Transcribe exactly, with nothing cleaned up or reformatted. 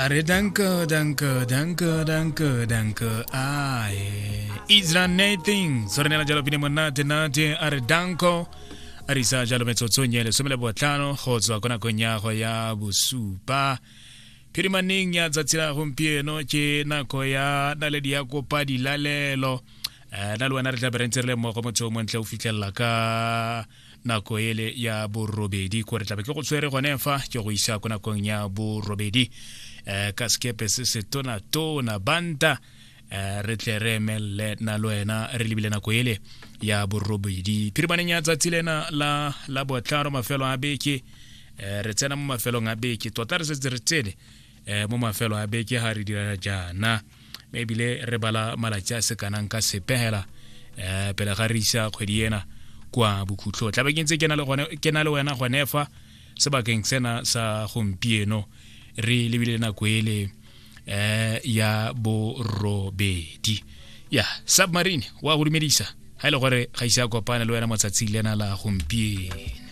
A re danko, danko, danko, danko, danko. Ae Isra Nathan so re neela jalo pine monate nate, a re danko. A re isa jalo metsotsong e lesome le botlhano go tswa ko nakong ya go ya bosupa phirimaneng ya tsatsi la gompieno. Ke nako ya naledi ya kopa dilalelo. um na le wena re tla be re ntse re le mmogo motho o montle o fitlhelela ka nako ele ya borobedi, ko re tlabe ke go tshwere gone fa ke go isa ko nakong ya borobedi um ka sekepe se se tona-tona banta. um re tle re emelele na le wena re lebile nako ele ya borobedi phirimaneng ya tsatsi lena la la botlhano, mafelo a beke. um re tsena mo mafelong a beke tota, re setse re tsene um mo mafelo a beke ga re dira jaana, mme ebile re bala malatsi a se kanang ka sepegela um pele ga re isa kgwedi ena kwa bokhutlho. Tlabe ke ntse ke na le gone- ke na le wena gone fa sebakeng sena sa gompieno re lebile nako ele um ya borobedi. Ya Submarine wa go dumedisa ga e le gore ga ise a kopane le wena mo tsatsing lena la gompieno.